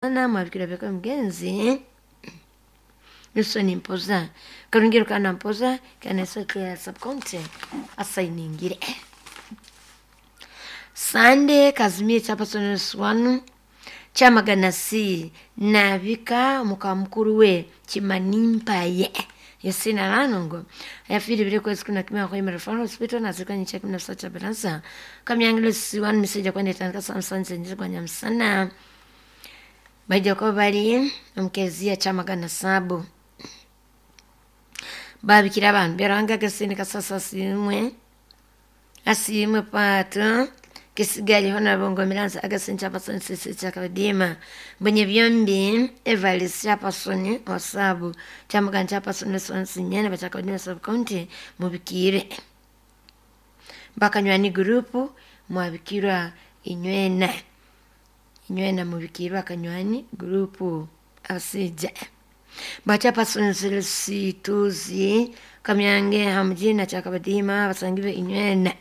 Namwabikira byaka mugenzi Wilson Mpoza Karungiro kana Mpoza kana ya subcounty asayiningire Sande Kazimie chapasoneswanu chamagana c nabika muka mukuru we Kimanimpaye yesina lanongo yafiri bile kwezi kuna kimya kwa imara Referral Hospital na zikwa nyicha kimya sacha balansa kamyangilo siwanu miseja kwa netanga samsanze nje kwa nyamsana baija kwa bali omkezia chamagana sabu babikira abantu byaranga gasini kasasa simwe asimwe pato kisigali hona bongo milanza agasini chapasoni sisi chakadima mwenye byombi evalis chapasoni wasabu chamagana chapasoni sonsi nyene bachakadima sub county mubikire bakanywani gurupu mwabikirwa inywena inywena mubikirwa akanywani gurupu asija bachapasonisituzi kamyange hamjina chakabadima basangibe inywena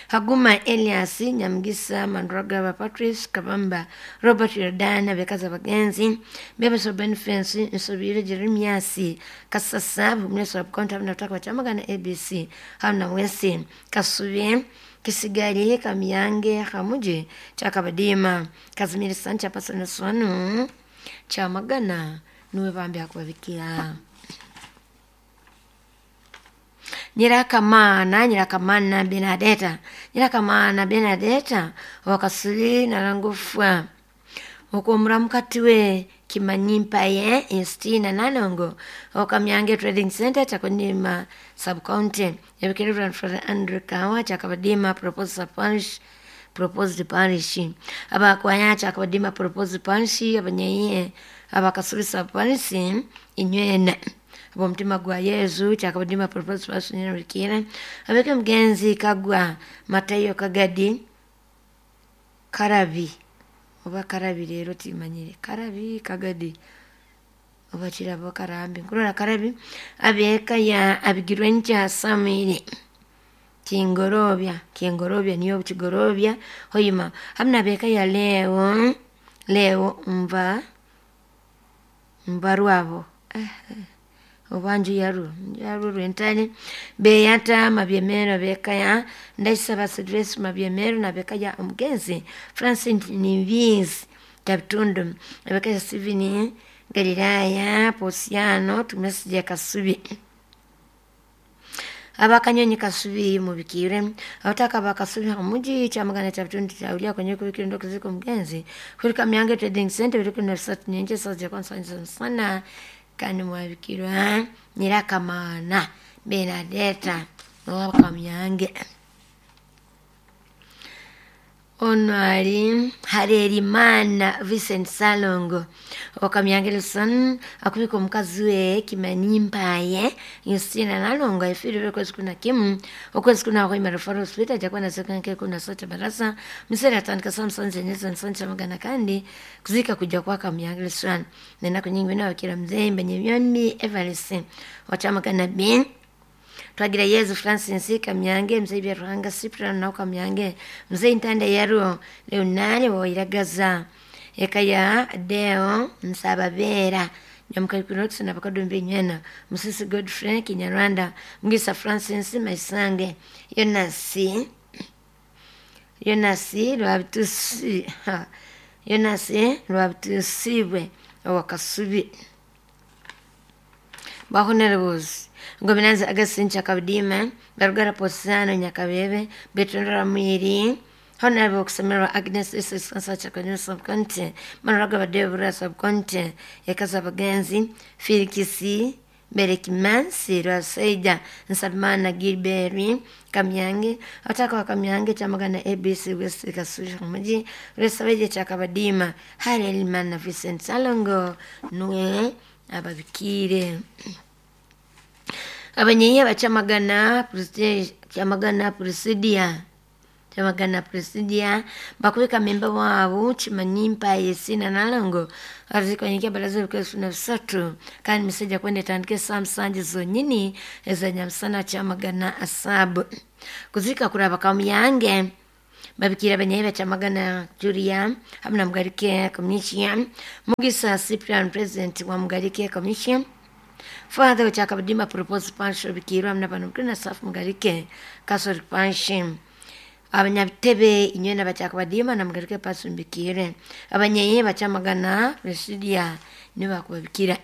haguma elias nyamgisa mandragaba patrice kabamba robert yordana bekaza bagenzi bebeso benfensi nsobire jeremiasi kasasa bumneso abkonta mnataka bachamagana abc hamna wesi kasubye kisigali kamyange hamuji chakabadima kazimiri sancha pasoniswanu chamagana nuwe bambi akubabikia nyirakamana nyirakamana benadeta nyirakamana benadeta wakasuli nalangufwa okwomura mukati we kimanyimpaye estina nalongo okamyange trading center chakunima subcounty yabikira Reverend Father Andrew Kawa chakabadima proposed parish proposed parish abakwaya chakabadima proposed parish abanyaiye abakasubisa parish inywena abomutima gwa yezu chakabadima proposed parish nyenabikira abeke mugenzi kagwa matayo kagadi karabi oba karabi leero timanyire karabi kagadi oba kirabo karambi nkurora karabi abeeka ya abigirwe nkya samwiri kingorobya kingorobya niyo kigorobya hoyima hamna abeeka ya leo leo mva mbarwabo eh, oba nju yaru yaru rwentale beyata mabyemero bekaya ndaisaba Silvestre mabyemero na bekaya omugenzi Francine Niviz Tabitundu abekaya Steven Galilaya Posiano tumesije Kasubi abakanyonyi kasubi mubikire abataka bakasubi hamuji chamagana cha bitundu chaulia kwenye kubikira ndo kuziko mgenzi kulika myange trading center biriko na sat nyenje saje kwa sana kandi mwabikirwa nyirakamana benadeta nowakamyange ono ali harerimana vincent salongo okamyange luson akubika omukazi we kimanimpaye yustina nalongo efirire okwezi kuna kimu okwezi kuna hoima referral hospital jakuwa nasekanke kuna sote barasa misere atandika samson zenyeza nsoncha magana kandi kuzika kuja kwa kamyange luson nenaku nyingi binawakira mzembe nyemyombi evarisi wachamagana bin twagira yezu francis kamyange mzee byaruhanga cyprian nawe kamyange mzee intanda yaruo leonare woiragaza eka ya deo nsababera nyamukalikunox na bakadumbi nywena musisi godfrey kinyarwanda mgisa francis maisange yonasi yonasi lwabitusi yonasi lwabitusibwe owakasubi bahonerebuzi ngominanzi agasincha kabudima barugara posano nyakabebe betondora mwiri honorable okusomerwa agnes isiskansa subcounty manuraga badebura subcounty yakaza bagenzi filikisi berekimansi lwasaija nsabimana gilberi kamyange abataka wa kamyange chamagana abc west kasushi muji lwesabeje chakabadima harelimana vincent salongo nuwe ababikire abanyenye bacamagana chamagana presidia chamagana presidia bakubika memba wabo chimanyimpa yesina nalongo azikonyikia baraza bikwesu na bisatu kandi miseja kwenda itandike saa musanju zonyini ezanyamsana chamagana asabu kuzika kuraba kamyange Babikira banyayi bacamagana Julia hamwe na Mugarike Commission, Mugisa Cyprian President wa Mugarike Commission, Father Chakabadima Propose Pancho Bikirwa hamwe n'abantu kuri na Safu Mugarike Catholic Panshi, abanyabitebe inywe n'abacakabadima na Mugarike Panshi Mbikire, abanyayi bacamagana Presidia nibo bakubabikira.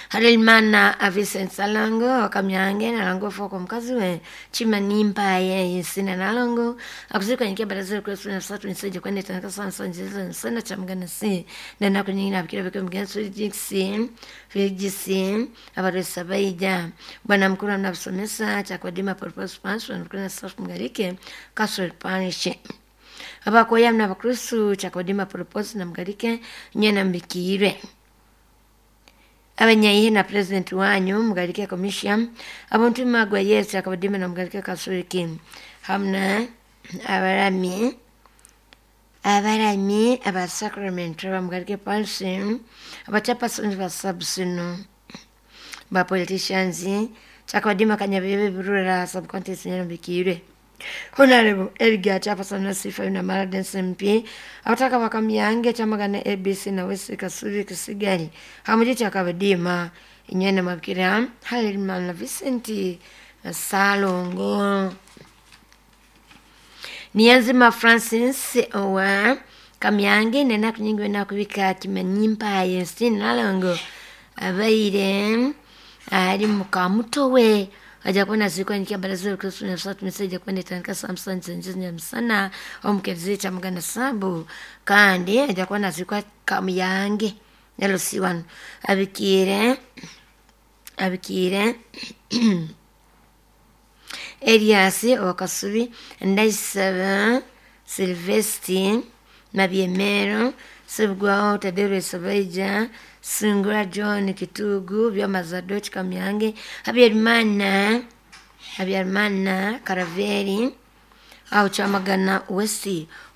Harelimana Vincent Salango wakamyange nalango foko mukazi we Chimanimpa yesina nalongo akuzikwa nyikia baraza kwa suna satu niseje kwende tanaka sana sana jesu sana chamgana si na nako nyingine abikira biko mgenso jiksi vijisi abaresa baija bwana mkuru anabasomesa chakwadima purpose pans na safu Mugarike Castle Parish abakoya mna bakristu chakwadima purpose na Mugarike nyena mbikire abanyayihe na president wanyu Mugarike Commission abantu magwa Yesu akabadima na Mugarike Catholic hamna abarami aba sacrament ba Mugarike Parish abachaparsons ba subsino ba politicians chakwadima kanyabebe burura subcontest nyambikire Honorable Edgar Chapason na Sifa na Maraden MP abataka bakamyange chamagana ABC na West Kasubi Kisigari hamuje chakabadima inyana mabikira Halimana Vincent Salongo Niyanzima Francis owa Kamyange nena kunyingwe na kubika kimanyimpa yesi nalongo abaire ali mukamutowe aja kuona siku nikia baraza Kristo na satu meseja kwenda tanka Samson zenje msana omukezi chamugana sabu kandi aja kuona siku Kamyange LC1 abikire Elias Wakasubi Ndaisaba Silvesti Mabyemero Sebugwaho Tadero Sabaija Sungura John Kitugu Byamazadochi Kamyange Habyarimana Karaveri aho Chamagana West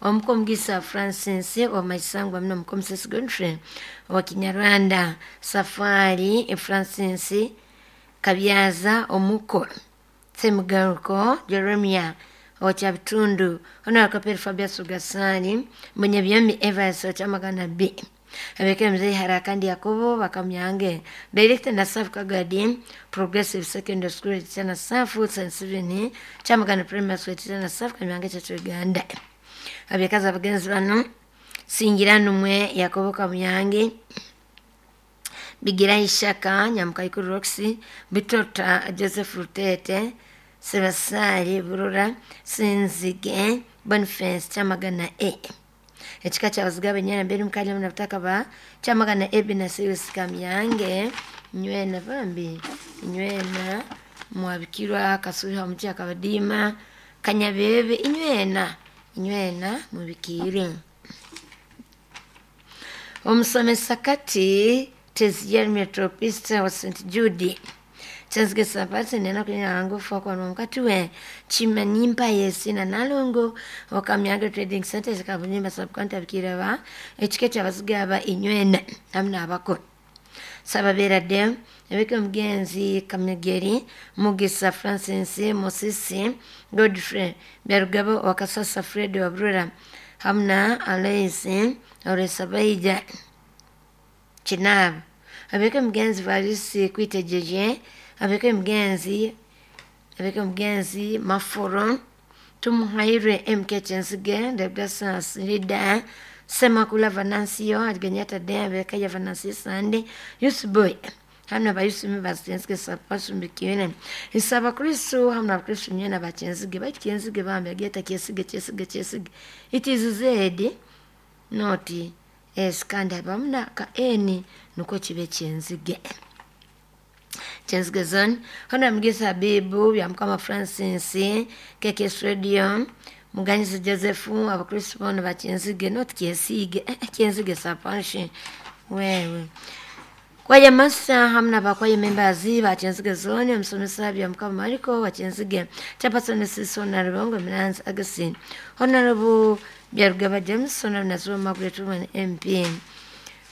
Omukomugisa Francis wa Maisangwa mno Mukomsesi Godfrey wa Kinyarwanda Safari Francis Kabyaza Omuko Semugaruko Jeremia wa Chabitundu Honorable Fabius Sugasani Munyabyami Evans wa Chamagana B Abeke mzee Harakandi Yakobo Bakamyange Director na Safu Kagadi Progressive Secondary School Chana Safu St. Stephen Chamagana Primary School Chana Safu Kamyange cha Uganda Abekaza abagenzi bano Singiranumwe Yakobo Kamyange Bigira Ishaka Nyamukaikuru Roxy Bitota Joseph Rutete Sebasari Burura Sinzige Boniface Chamagana A ekika kyabaziga benyana mbere mukali muna butaka ba Chamagana A na Sirius Kamyange nywena bambi nywena mwabikirwa Kasubi hamuti akabadima Kanyabebe inywena mubikire omusomesa kati Teziyeri Metropista wa St. Jude Chenzige sapati nena kunya angu fokwa mkati we Chimanimpa yesi na nalongo Wakamyange Trading Center zikabunyimba subcounty abikira ba ekike kyabazigaba inywena hamna abako Sababera de ebike mugenzi Kamegeri Mugisa Francis Musisi Godfrey Byarugabo Wakasasa Fred Wabrura hamna Alois Oresabaija Chinab abeke mugenzi Varisi Kwitejeje abeke mugenzi Maforo Tumuhaire MK Chenzige Debdasa Srida Semakula Vanansiyo Adgenyata de abeke ya Vanansiyo Sande Yusboy hamna bayusumi bazenzige sapasumbikiwene isaba Kristo hamna Kristo nyena bachenzige bachenzige bambe ageta kyesige kyesige kyesige it is Z not S kandi abamna ka N nuko kibe kyenzige Chenzige zone hona mgisa Bibu bya Mukama Francis KKS Radio Muganyizi Joseph abakristo bona bachenzige not kyesige kyenzige sapashi wewe Kwaya masa hamna bakwaye members bachenzige zone msomesa bya Mukama Mariko bachenzige Chapason Sisona Rubongo Milanzi Augustine Honorable Byarugaba James Honorable Nazuba Margaret Woman MP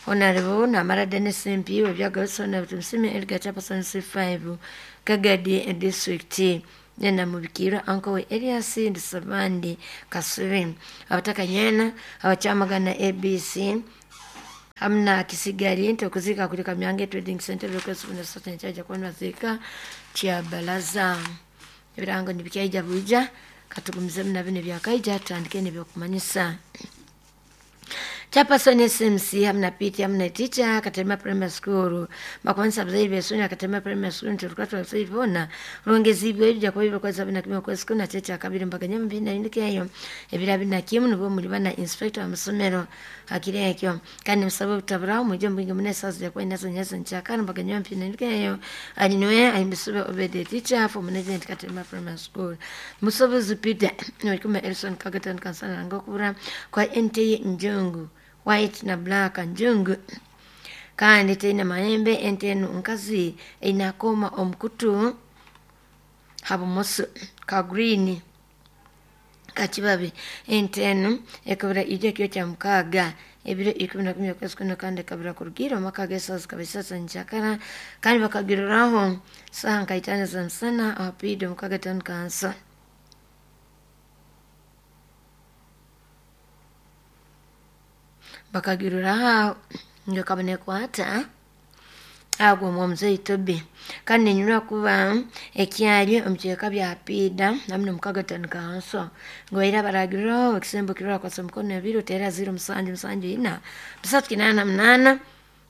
Honorable Namara Dennis MP Webyaga Honorable Tumsime Edgar Chapason C5 Kagadi District Nyena mubikirwa anko we Elias Ndisabandi Kasubi abataka nyena abakyamagana ABC hamna kisigali nti okuzika kuli Kamyange Trading Center request kuna sasa nchaja kwa nazika kya balaza ebirango nibikyaija buija katugumize muna bino byakaija tutandike nebyokumanyisa. Chairperson SMC hamna PT hamna teacher Katema Primary School bakwanisa abazaire besonya Katema Primary School nti olukwata abazaire boona rwongezibwe ebijja kuba ibikwezi abiri na kimwe okwezi kumi na kye kyakabiri mbaganya mu bibiri na bine ebiro abiri na kimu nibwo muri bana inspector w'amasomero hakiri ekyo kandi musaba obutaburaho mujye mubinge mune esaaha zijja kuba inazo nyazo nkyakana mbaganya mu bibiri na bine ali niwe ahimbisibwe Obede teacher for management Katema Primary School Musobozi Peter noikuma Elson Kagatan kansala ngokubura kwa NT Njungu white na black njungu kandi teina mahembe ente enu nkazi einakoma omukutu habumoso ka green kakibabi ente enu ekabura ijo ekiro kya mukaaga ebiro 11 okwezi kuno kandi ekabura kurugiira omu maka g'esaaha zikaba isatu nkyakara kandi bakagiruraho saaha nka itaano za musana ahapiida omukaga town council. Bakagiruraho ngekaba nekwata agwo omwomuzeyi Toby kandi nenyurwa kuba ekyali omu kicweka bya Piida hamwe n'omukaga town council ngu baire baragiriraho ekisembo kirora kwasa omukono ebiri oteera 0 7 7 4 3 8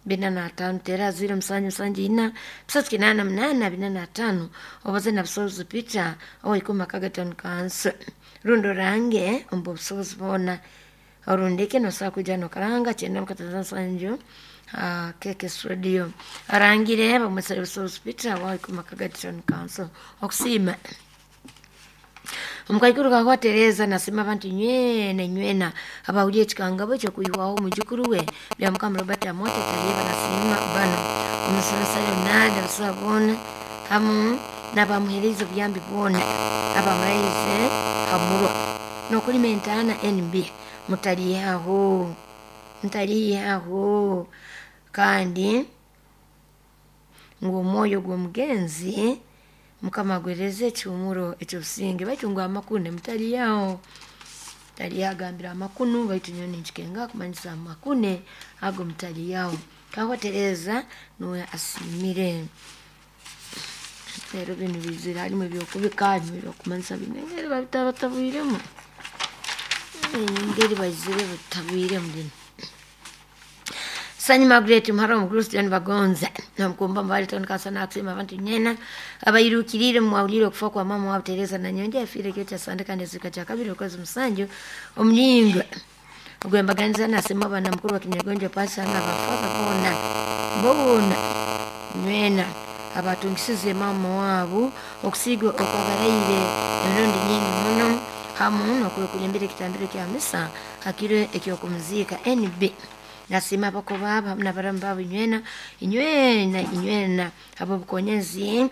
8 45 teera 0 7 7 4 3 8 8 45 obaze na Busobozi Peter owaikumi akaga town council rundi orange omu busobozi boona orundike nosobola kwija nokaranga kyenda mukatano nsanju KKS Radio arangire bamwesere Busobozi Peter owaikumi akaga town council okusiima. Omukaikuru kakwa Tereza nasima abantu nywena nywena abahulire ekikangabo ekyokwihwaho omujukuru we bya Mukama Robert Amote Talieba nasima bano omusomesa Leonard abasawo boona hamu n'abamuheereza obuyambi bwona abamurahize hamurwa n'okulima entaana NB mutaliihaho mutaliihaho kandi ngu omwoyo gw'omugenzi Mukama agwereze ekihumuro ekyobusinge baitu ngu amakune mutaliihaho mutaliihaho agambire amakunu baitu nyowe ninkikenga kumanyisa amakune ago mutaliihaho. Kakwa Tereza nuwe asiimire. Rero binu bizire harimu ebyokubika harimu ebyokumanyisa bine engeri babitabatabwiremu engeri baizire batabwiremu binu. Sanyi Margaret Muhara omukuru John Bagonza namukumba mbali town council nakusima abantu nyena abairukirire mwawulire okufa kwa mama wabo Tereza Nanyonja yafiire kiro kya Sande kandi ezika kya kabiri okwezi musanju omulingo ogwembaganiza nasima abana mukuru wa Kinyagonjo Pastor n'abafaza boona boona nywena abatungisize mama waabo okusiiga okwabaraire emirundi nyingi muno hamu n'okukulembera ekitambiro kya misa hakiro ekyokumuziika NB nasima abako baabo hamu n'abaramu baabo inywena inywena inywena ab'obukonyezi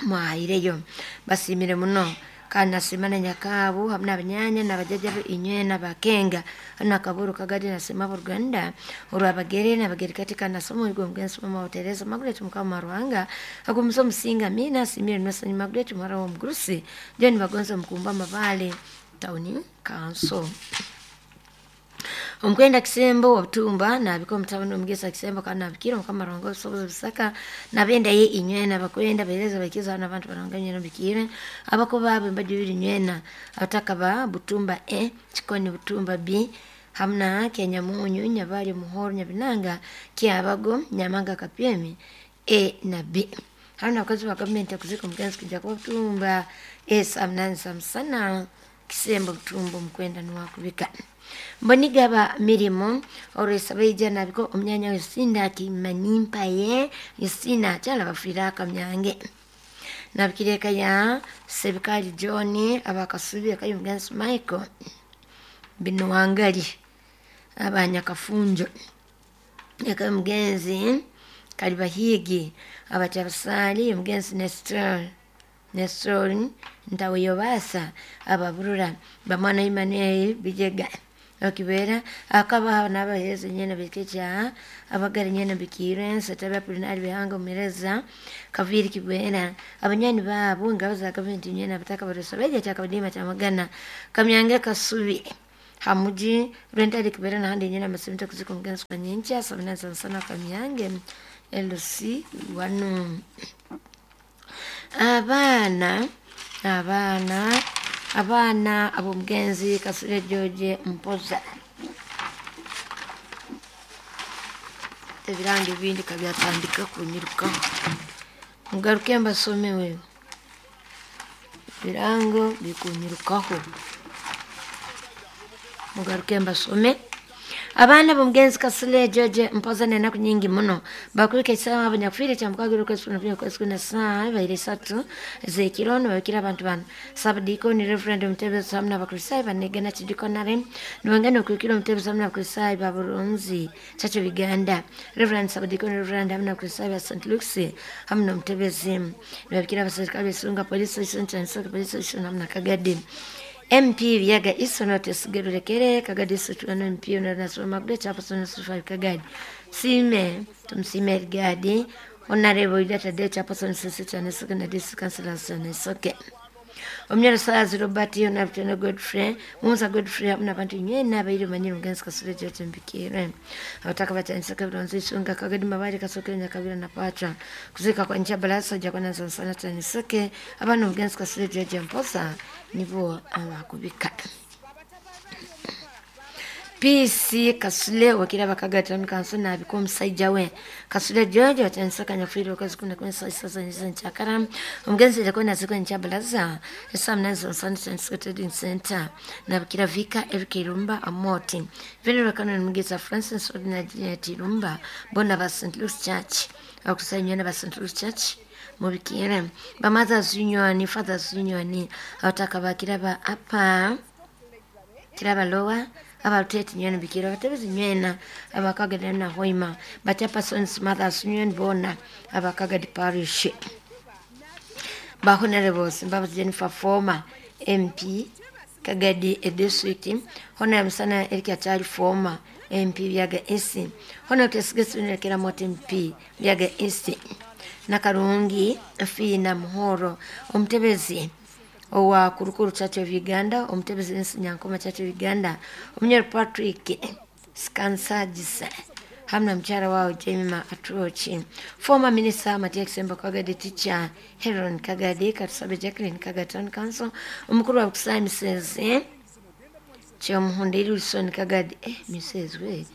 mwahaireyo basiimire muno kandi nasima na nyakaabo hamu n'abanyanya n'abajjaja be inywena bakenga hanu akaburu kagadi nasima abooluganda orwabagere n'abagerikati kandi nasoma omuyigo omugenzi mama wa Tereza Margaret Mukama Ruhanga agumize omusinga amiina asiimire Nwasanyi Margaret muhara w'omugurusi John Bagonza omukumba Amabaale Town Council. Omukwenda Kisembo obutumba nabika omutabani omugesa Kisembo kandi nabikira Mukama Ruhanga obusobozi busaka nabenda ye inywena abakwenda bahereza bakiza n'abantu baranga nywena bikire abako baabo embaju ibiri nywena abataka ba Butumba E Kikoni Butumba B hamna Kenyamunyu Nyabali Muhoro Nyabinanga Kyabago Nyamanga Kapyemi E na B hamna abakozi ba gavumenti okuzika omugenzi kujja kuba Butumba E saa munani za musana Kisembo Butumba omukwenda niwakubika. Mbonigaba mirimo olwesabaija nabiko omunyanya Yusinda Kimanimpaye Yusina akyala bafiire akamyange nabikira eka ya Sebikali John abakasubi eka y'omugenzi Michael Binuwangali abanyakafunjo eka y'omugenzi Kalibahigi abatyabasaali omugenzi Nestor Ntaweyobasa ababurura bamwana Emmanuel Bijega Okibera akaba n'abaheereza nyene bikeja abagara nyene bikire nsetabe Apolinari Bihanga Omuhereza Kaviri Kibwera abanywani baabo engabo za gavumenti nyene abataka barosa beja kyakabadiima kyamagana Kamyange Kasubi hamuji Rwentare Kibera nahandi nyene amasemento kuzika omugenzi kwa nyenkya 7:07 Kamyange LC wanu abaana abaana abaana ab'omugenzi Kasule George Mpoza ebirango ebindi kabyatandika kunyirukaho mugaruke mbasomewe ebirango bikunyirukaho mugaruke mbasome abaana b'omugenzi Kasule George Mpoza n'enaku nyingi muno bakwika ekisaawa abanyakufiire kyamukaaga okwezi kumi na okwezi kumi na saa baire isatu z'ekiro nibabikira abantu bano sabadiikoni Reverend Omutebezi hamu n'abakristaayo banegana kidikonare nibangana okwikira Omutebezi hamu n'abakristaayo ba Burunzi Church of Uganda Reverend Sabadiikoni Reverend hamu n'abakristaayo ba St. Luke's hamu n'Omutebezi nibabikira abaserikale b'Isunga Police Station Kyanisaka Police Station hamu na Kagadi MP Byaga Isono Tesigerulekere Kagadi Situano MP Onarasoma Magude Chapason Sufa Kagadi Sime tumsime Gadi Honorable Data De Chapason Sisi and Second District Councilor Soke Omnyaro Sazi Robert Honorable Godfrey Musa Godfrey hamwe n'abantu nyene abairi manyiri mugenzi Kasule George Mbikire abataka batyanisaka Buronzi Isunga Kagadi Mabari Kasoke Nyakabira na Pacha kuzika kwa ncha balasa jakwana sansana Kyaniseke abana mugenzi Kasule George Mpoza nibo abakubika PC Kasule wakira bakagata kanso nabiko omusajja we Kasule George watyanisaka nyafiire okwezi kumi na kumwe saa sita za nkyakara omugenzi jakona nazikwa nkyabalaza esaa munani zonsana Kyaniseke Trading Center nabikira Vika Eric Irumba Amoti Venerable Canon Mugisa Francis Ordinary Irumba bona ba St. Luke's Church abakusanywa na ba St. Luke's Church mubikire ba Mothers Union Fathers Union abataka bakira ba apa kiraba lowa abaluteti nywena bikira abatebezi nywena abakagada na hoima bachapersons Mothers Union bona abakagadi parish ba honorables Mbabazi Jennifer former MP Kagadi district Honorable Musana Eric Achali former MP Byaga East Honorable Tesigesune Moti MP Byaga East Nakarungi Fina Muhoro omutebezi owa Kurukuru Church of Uganda omutebezi Nsi Nyankoma Church of Uganda omunyoro Patrick Skansagisa hamwe na mukyala wawe Jemima Atrochi former minister Matia Kisembo Kagadi teacher Heron Kagadi Katusabe Jacqueline Kagadi Town Council omukuru wa Kusai Mrs. Kyomuhundiri Wilson Kagadi Mrs. we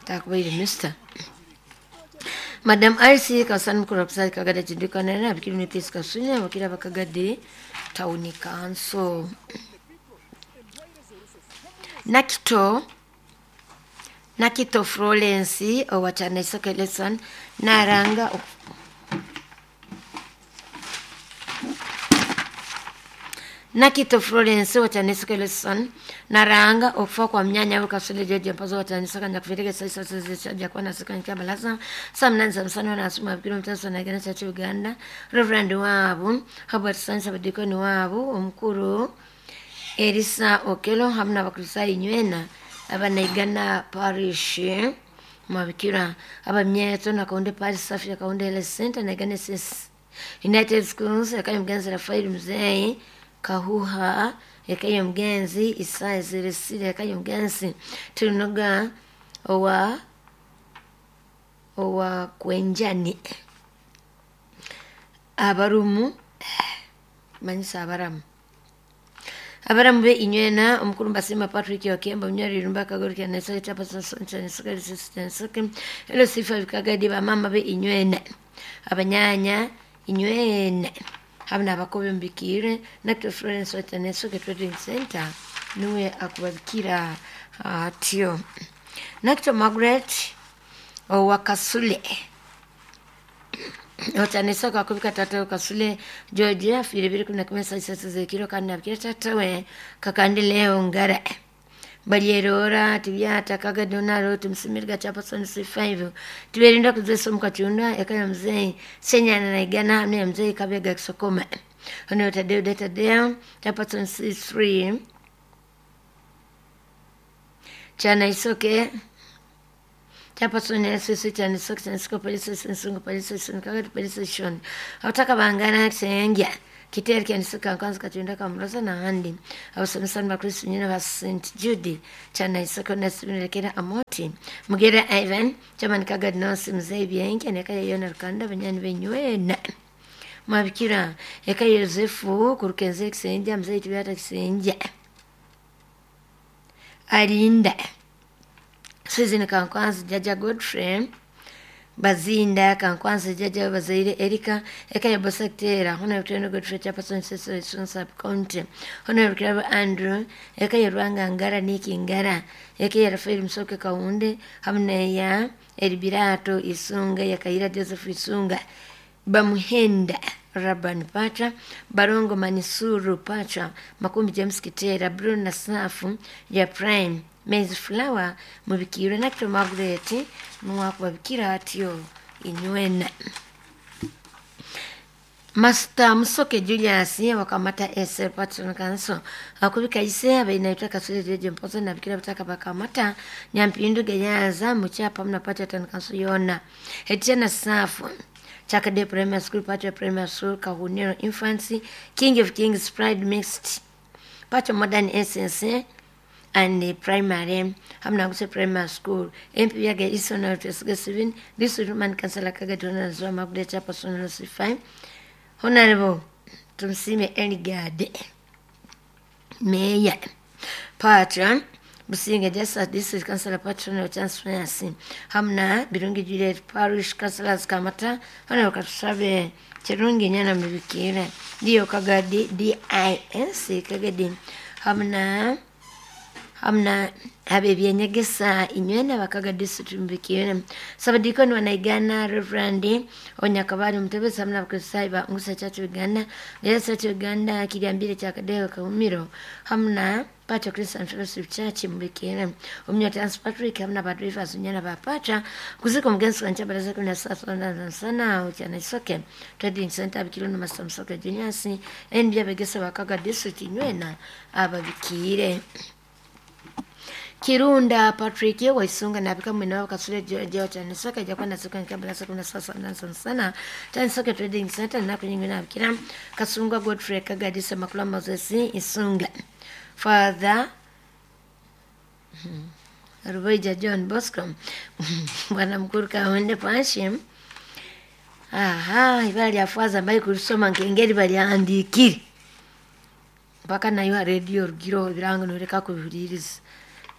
takubaire Mr. Madam Alice Kasani mukuru wa Kusai Kagadi Chindikana na bikiri ni Peace Kasunya wakira bakagadi Town Council Nakito Florence owa Kyaniseke Lesson naranga Nakito Florence wa Kyaniseke Lesson naranga okufa kwa mnyanya we Kasule George Mpoza wa Kyaniseke nyakufiirika saa isatu z'ekya nasika nkyabalaza saa munani za musana nasuma bikiro mutaso nagana Church Uganda Reverend waabo Herbert Sansa abadikoni waabo omukuru Elisa Okelo hamu n'abakristaayo nywena abanaigana parish mwabikira abamyeto nakaunde parish safi akaunde health center naigana ss United Schools ekayo mugenzi Rafael Muzei Kahuha ekayo mugenzi Isaya Zeresire ekayo mugenzi Tunoga owa Kwenjani abarumu manyisa abaramu abaramu be inywena omukuru Mbasima Patrick Okemba munyweri Irumba Kagori Kyaniseke Chapason Kyaniseke Kyaniseke Elo Sifa Kagadi bamama be inywena abanyanya inywena hamwe n'abakobe mbikire Nakito Florence wa Kyaniseke Trading Center niwe akubabikira atyo Nakito Margaret owa Kasule Otanisaka akubika tata Kasule George afiire 2011 saa isatu z'ekiro kandi nabikira tata we kakandi leo ngara balyerora tibyata kagadonaro tumsimirga chapason C5 tiberinda kuzesa mukachunda ekaya mzee senyana na igana hamwe ya mzee kabega kisokoma ono tadeo data deo chapason C3 Chanaisoke Chairperson SSC Chanaisoke Chanisiko Police Station Sungu Police Station Kagadi Police Station abataka bangana Kisengya Kiteri Kyanisika Nkanzi Katunda Kamuroza n'ahandi abasomesa n'abakristu nyine ba St Jude Chanaisoke Nasibirekera Amoti Mugera Ivan Chairman Kagadi North Mzee Byenke Neka Yona Rukanda banyani benywena mwabikira eka Yosefu kurukenze Kisengya Mzee Tibyata Kisengya Arinda Susan Kankwanzi Jaja Godfrey Bazinda Kankwanzi Jaja Bazaire Erika Eka ya Bosaktera Honorable Tendo Godfrey Chairperson Cecil Sun Sub County Honorable Kirabo Andrew Eka ya Rwanga Ngara Niki Ngara Eka ya Rafael Musoke Kaunde hamwe ya Elibirato Isunga ya Kaira Joseph Isunga Bamuhenda Raban Pacha Barongo Manisuru Pacha Makumbi James Kitera Bruno na Safu ya Prime Maize Flower mubikirwe nakito Margaret nuwakubabikira atyo inywena Master Musoke Julius wakamata SL Patron Council akubika ise abaina itaka sule jeje mpozo na bikira bataka bakamata Nyampindu Geyaza muchapa mnapata town council yona Etiana Safu Chakade Primary School, Pacha Primary School, Kahuniro Infancy, King of Kings Pride Mixed, Pacha Modern Essence and Primary, Hamnaguse Primary School, MP Yaga Isona Tesga District Woman Councillor Kagatona Zoma Gudecha Personal C5, Honorable Tumsime Eligade, Mayor, Patron, Businga Justice District Councillor Patron of Transparency, Hamna Birungi Juliet Parish Councillors Kamata, Honorable Katusabe Kirungi Nyana Mubikira, Dio Kagadi DIS Kagadi, Hamna hamna habe byenyegesa inywena bakaga district mubikira Sabadikoni wanaigana Reverend Onyakabali Mutebezi hamna Abakristayo ba Ngusa Church Uganda Gereza Church Uganda Kiryambire kya Kadeho Kahumiro hamna Pacha Christian Fellowship Church mubikira Omnya Trans Patrick hamna ba drivers unyana ba Pacha kuziko mugenzi wanje baraza kuna sasa na sana uchana isoke Trading Center abikiro no Master Musoke Juniors NB abegesa bakaga district inywena ababikire Kirunda Patrick waisunga nabika mwina wakasule jeo chanisaka jakwa nasuka nkabala sakuna sasa na sana chanisaka trading center na kunyingi na bikira Kasunga Godfrey Kagadisa Makula Moses Isunga Father Rubaija John Bosco Bwana mkuru kaonde panshi aha ibali lyafaza mbayi kulisoma nkengeri baliandikire mpaka nayo radio rugiro ebirango noreka kubihuliriza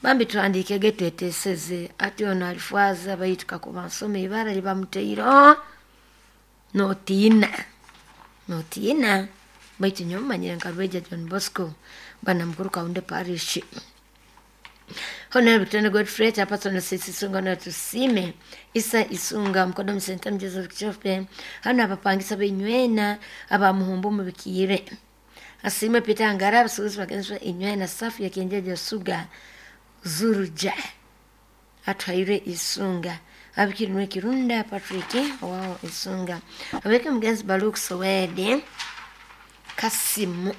bambi tuhandikege tweteseze ati ono alifwaza baitu kakuba nsoma ibara libamuteiro notiina notiina baitu nyowe manyire nka Rweja John Bosco bwana mukuru Kaunde Parish Honorable Victoria Godfrey Chairperson Sisi Isunga na Tusime Isa Isunga Mkodo Msenta Joseph Kichope hano abapangisa benywena abamuhumbu mubikire Asime Peter Ngara abasuubuzi bagenzwa inywena safu ya kienjeji Suga Zuruja atwaire Isunga abikirinwe Kirunda Patrick wao Isunga abeke mugenzi Baruk Sowede Kasimu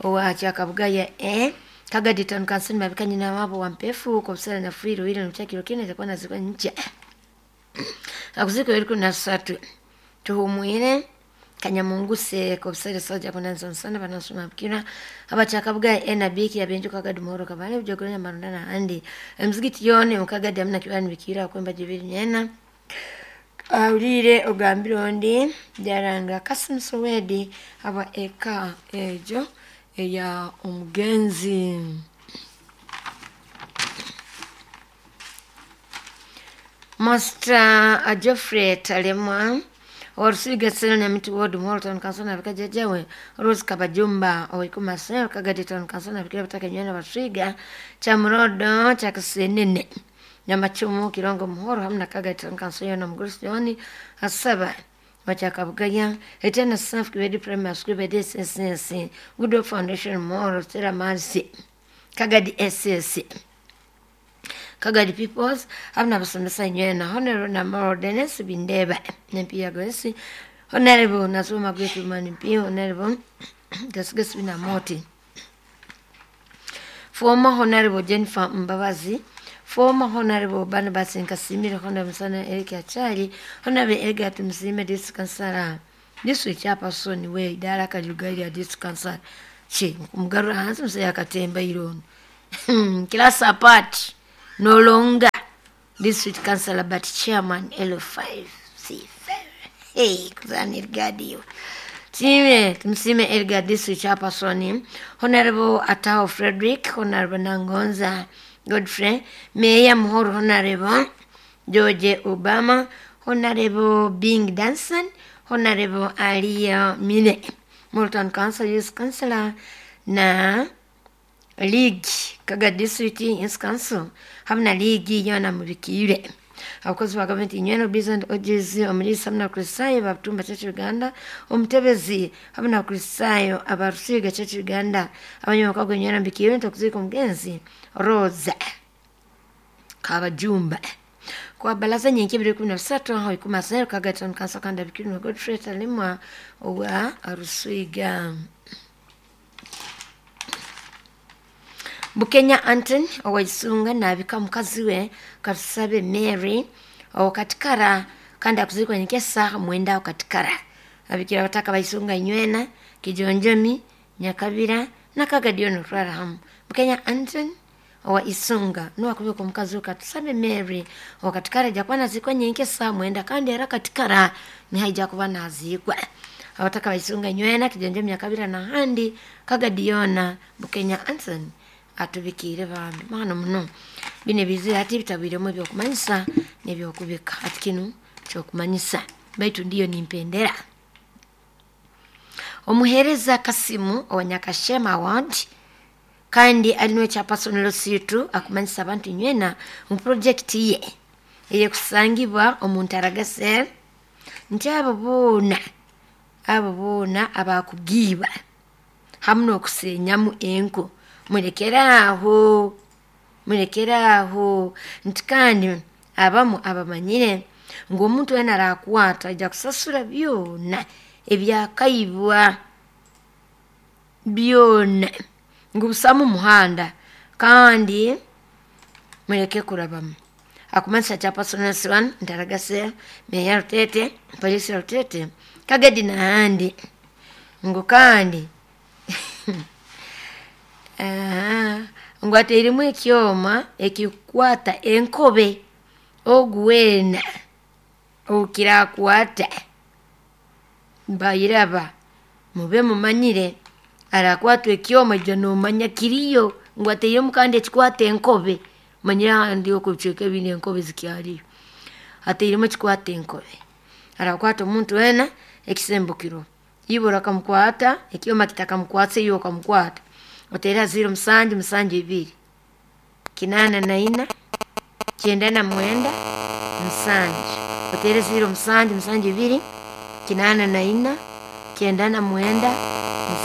owa Kyakabugaya e Kagadi Town Council mabika nyina wabo wa mpefu kwa busara na free ile nchakiro kine itakuwa nazikwa nje akuziko iliko na satu tuhumwire Kanyamunguse kwa busara soja kuna nsonsana banasoma bikira abachakabuga enabiki yabenju kagadi muhoro kabale bujogoranya marunda na andi emzigiti yone mukagadi amna kibani bikira kwemba jibiri nyena awulire ogambire ondi jaranga Kasim Sowedi aba eka ejo eya omugenzi Master Geoffrey Talemwa Orusiga Seno Nyamiti Ward Muhoro Town Council na bika jajawe Rose Kabajumba Oikuma Seno Kagadi Town Council na bikira bataka nywena Basiga Chamurodo Chakasenene Nyamachumu Kirongo Muhoro hamna Kagadi Town Council yona Mgurusi Joni Asaba Wachakabugaya Etena Safi Kibedi Primary School Bedi SSS Good Foundation Muhoro Stella Marcy Kagadi SS Kagadi Peoples hamna basomesa nywena Honorable Namoro Dennis Bindeba Nempiya Gwesi Honorable Nasuma Gwetu Mani Mpi Honorable Gasugasi Binamoti Former Honorable Jennifer Mbabazi, former Honorable Barnabas Nkasimire, Honorable Musana Eric Achali, Honorable Edgar Tumusiime, District Councillor, District Chairperson we idara Kajuga lya District Councillor. Che, kumugarura hansi musaya akatemba irono. Class apart, no longer District Councillor but Chairman L5C5. Hey, kuzani Edgar. Time, Tumusiime Edgar District Chairperson, Honorable Atao Frederick, Honorable Nangonza Godfrey, Mayor Muhoro, Honorable George Obama, Honorable Bing Danson, Honorable Alia Mine, Multan Council Youth Councillor na League Kaga District Youth Council hamwe na League yona mubikire. Abakozi ba gavumenti nywena Bizant OGZ omulisa hamwe na Kristayo ba Church Uganda, omutebezi hamwe na Kristayo abarusiga Church Uganda, abanyamakago nywena mbikire ntakuzika omugenzi Rosa Kabajumba. Kwa balaza nyingi 2013 aho ikuma zero kagatan kansa kanda bikiri na Godfrey Talimwa owa Arusiga. Bukenya Anton owaisunga nabika mukazi we Katusabe Mary owakatikara kandi akuzikwa nyekesa mwenda wakatikara. Abikira bataka baisunga nywena Kijonjomi Nyakabira na Kagadiono twara. Bukenya Anton owa isunga nuwa kubika omukazi we Katusabe Mary owakatikara jakuba nazikwa nyenkesa mwenda kandi era katikara nihaija kuba nazikwa. Abataka baisunga nywena Kijonjomi Nyakabira na handi Kagadiona Bukenya Anton atubikire bambi mwana muno. Bine bizira ati bitabiremo ebyokumanyisa n'ebyokubika. Ati kinu kyokumanyisa baitu ndiyo nimpendera. Omuhereza Kasimu owa Nyakashema Ward kandi alinwe cha personal situ akumanyisa abantu nywena mu project ye eyekusangibwa omuntu aragase nti abo boona abakugiba hamwe n'okusenyamu enku mulekeraaho nti kandi abamu abamanyire ngu omuntu wena arakwata ajja kusasura byona ebyakaibwa byona ngu busamu muhanda kandi muleke kurabamu. Akumanyisa cha personal one ntaragase meya Rutete polisi Rutete Kagadi nahandi ngu kandi ngu ateiremu ekyoma ekikwata enkobe oguwena okirakwata mbayiraba mube mumanyire arakwatwa ekyoma ijja nomanya kiriyo ngu ateiremu kandi ekikwata enkobe manyire handi okubichweka ebindi enkobe zikyariyo ateiremu ekikwata enkobe arakwata omuntu wena ekisembukiro ibura akamukwata ekyoma kitakamukwatsa iyo okamukwata otera 0 7 7 2 8 4 9 7 otera 0 7 7 2 8 4 9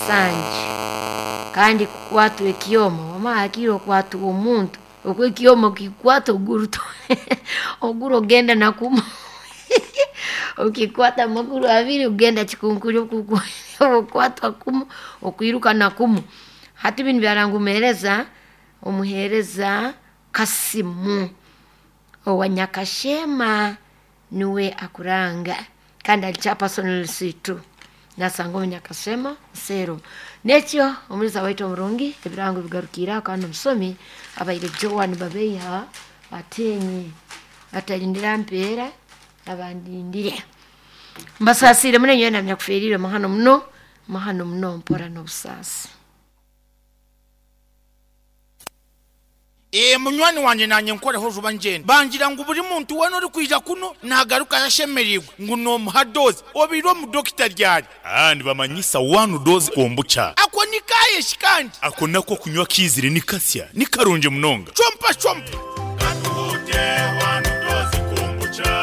7 kandi kukwatwa ekyoma wama akiro kwatwa omuntu okwe ekyoma kikwata oguru oguru ogenda nakumu ukikwata amaguru abiri ugenda chikunkuri okukwatwa kumu okwiruka nakumu. Hati bino byarangumereza omuhereza Kasimu owa Nyakashema niwe akuranga kandi alicha personal situ nasanga omunyakashema sero nekyo omuliza waitu omurungi ebirango bigarukira kandi omusomi abaire Joan Babeiha atenye atalindira mpeera abandindire mbasasire munenyo namya kuferire mahano muno mpora n'obusasi. Munywani wanje nanye nkoreho juba njenda bangira ngu buri muntu wena uri kwija kuno nagaruka yashemerirwe ngu nomuha doze obiro mu dokita ryari bamanyisa 1 doze kombucha ako nikaye shikandi ako nako kunywa kizire nikasya nikarunje munonga chompa chompa katuhute 1 doze kombucha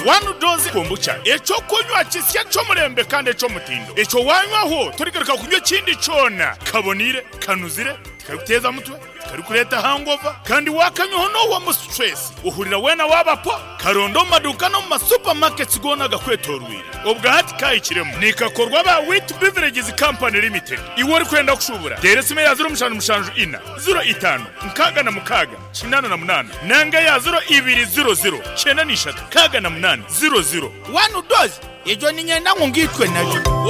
1 doze kombucha echo kunywa kisya cyo murembe kandi echo mutindo echo wanywaho turigaruka kunywa kindi cona kabonire kanuzire Tikarikuteeza mutwe, tikarikureeta hangover, kandi waakanywaho noohwamu stress, ohurira weena waaba po. Karonde omu maduuka n'omu ma supermarkets goona agakwetooroire. Obwa hati kaahikiremu. Nikakorwa aba Wheat Beverages Company Limited. Iwe orikwenda kushuubura, teera esimu eya ziro mushanju mushanju ina, ziro itaano, nkaaga na mukaaga, 88 nanga eya ziro ibiri ziro ziro, kyenda na ishatu, nkaaga na munaana, ziro ziro. One dose, egyo niinyenda ngu ngiitwe nayo.